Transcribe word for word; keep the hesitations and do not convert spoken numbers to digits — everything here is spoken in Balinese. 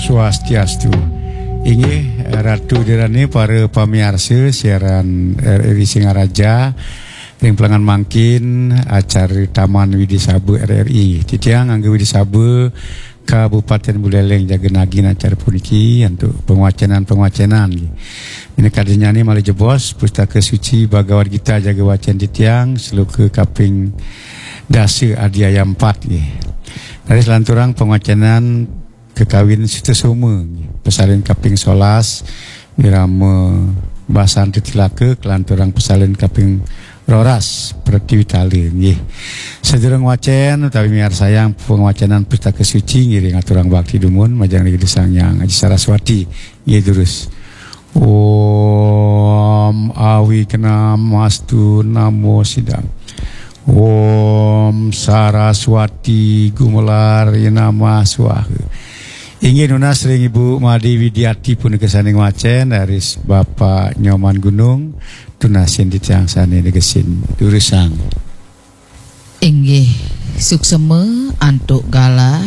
Swastiastu. Inggih, Ratu Dirani, para pamiarsa siaran R R I Singaraja, ring pelengan mangkin acara Taman Widi Saba R R I. Titiang ngangge Widi Saba Kabupaten Buleleng jaga nagin acara puniki antuk pangwacenan-pangwacenan. Minakadinnyane malih jebos Pustaka Suci Bhagavad Gita jaga wacen titiang, sloka kaping dasa adiaya empat nggih. Raris lanturang pangwacenan kakawin Sutasoma nggih. Pasalin kaping solas Wirama Basan Titilaka, kalanturang pasalin kaping roras Pratiwitala nggih. Sadurung wacen utawi miarsayang pangwacenan Pustaka Suci ngiring aturang bakti dumun majeng Ida Sang Hyang Aji Saraswati nggih durus. Om Awignamastu Namo Sidam. Om Saraswati Gumelar Namah Swaha. Inggih nunas ring Ibu Made Widiati punika sane ngwacen, raris Bapak Nyoman Gunung tunasin titiang sane negesin durusang. Inggih, suksema antuk galah